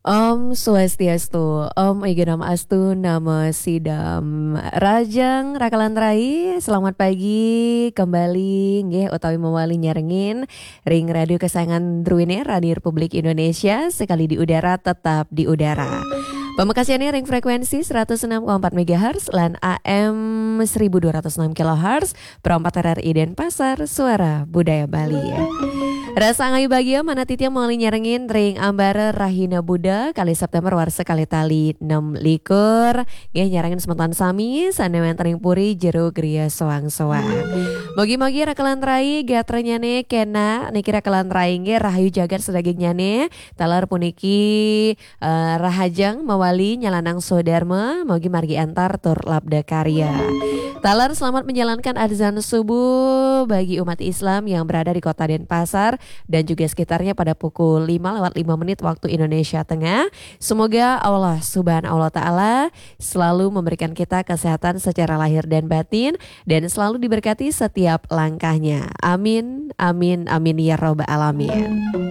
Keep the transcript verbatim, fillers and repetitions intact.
Om Swastiastu, Om Igenam Astu, Namo Sidam. Rahajeng rakalan rai, selamat pagi kembali nggih utawi mawali nyarengin ring radio kesayangan druene, Radio Republik Indonesia, sekali di udara tetap di udara. Pamekasane ring frekuensi seratus enam koma empat megahertz lan A M seribu dua ratus enam kilohertz, Pro empat R R I Denpasar, Suara Budaya Bali. Rasa angayu bagia manah titiang mawali nyarengin ring ambara Rahina Buddha, kalih September warsa kalih tali enam likur. Nggih, nyarengin semeton sami sane wenten ring puri jero griya soang-soang. Mugi-mugi rakalan rai gatranyane kena niki rakalan rai nggih rahayu jagat sadagingnyane. Taler puniki eh, rahajeng mawali nyalanang swadarma, mugi margi antar tur labda karya. Taler selamat menjalankan azan subuh bagi umat Islam yang berada di Kota Denpasar dan juga sekitarnya pada pukul lima lewat lima menit waktu Indonesia Tengah. Semoga Allah Subhanahu wa Ta'ala selalu memberikan kita kesehatan secara lahir dan batin dan selalu diberkati setiap langkahnya. Amin, amin, amin ya Rabbal Alamin.